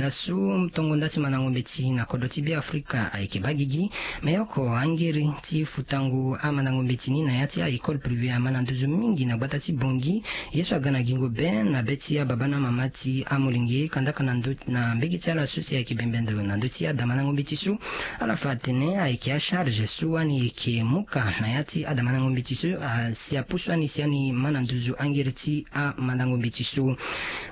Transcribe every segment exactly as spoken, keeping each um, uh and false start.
Asu tongo nda ti mandango mbeti na kodro ti Beafrika ayeke baa gigi. Me oko angiri ti futango amandango mbeti ni na ya ti a-école privé ama na nduzu mingi na gbata ti Bangui. Ye so aga na gingo be na be ti ababa na mama ti amolenge kandaka na ndö na mbege ti ala so si ayeke bembe ndo na ndö ti adamandango mbeti so. Ala fa atene ayeke acharge so ani yeke muka na ya ti adamandango mbeti so asi apusu ani si ani ma na nduzu angiri ti amandango mbeti so.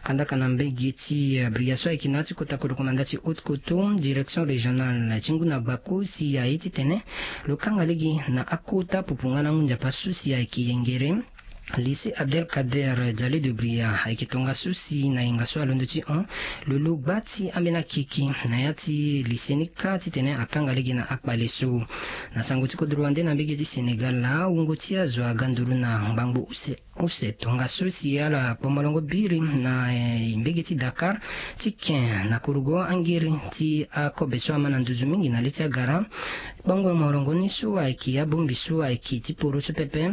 Kandaka na mbege ti bria so ayeke na ya ti kota kodro komanda ti haute koto direction régionale ti ngu na gbako si aye titene lo kanga lege na akota pupu nga na ngu nzapa so si ayeke yengere lycée Abdelkader Diallo de Bria ayeke tongaso si na yenga so alondo ti hon lulu gba ti ambeni akeke na ya ti lycée ni kâ titene akanga lege na akpale so. Na sango ti kodro wande na mbege ti Sénégal, wungo ti azo aga nduru na ngbangbo use use tongaso si ala kpo molongo biri na mbege ti Dakar ti ken na kurugo angiri ti akobe so ama na nduzu mingi na li ti agara. Kpango molongo ni so ayeke abongbi so ayeke ti poro so pepe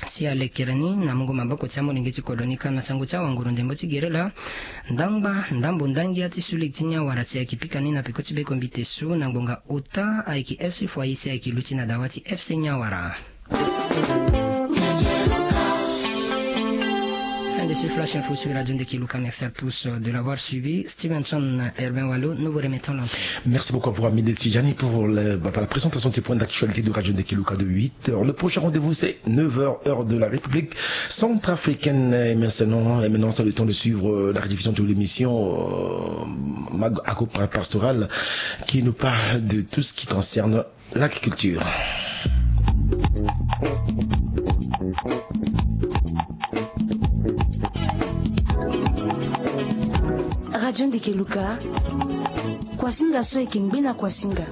si alekere ni na mungo maboko ti amolenge ti kodro ni kâ na sango ti awanguru ndembo ti gere laa. Ndangba ndambo ndangia ti sulege ti ni awara si ayeke pika ni na peko ti bekombite so na ngbonga ota ayeke FC Foyer si ayeke luti na dawa ti FC Niawara. Fin de ce flash info sur Radio Ndekeluka. Merci à tous de l'avoir suivi. Stevenson Herbin Wallo, nous vous remettons l'antenne. Merci beaucoup à vous, Amine Tijani, pour le- la présentation de ces points d'actualité de Radio Ndekeluka de huit heures. Le prochain rendez-vous, c'est neuf heures, heure de la République centrafricaine. Et maintenant, et maintenant, c'est le temps de suivre la rediffusion de l'émission Mago Pastorale, qui nous parle de tout ce qui concerne l'agriculture. Radio Ndekeluka, Kwasinga so eke ngbena Kwasinga.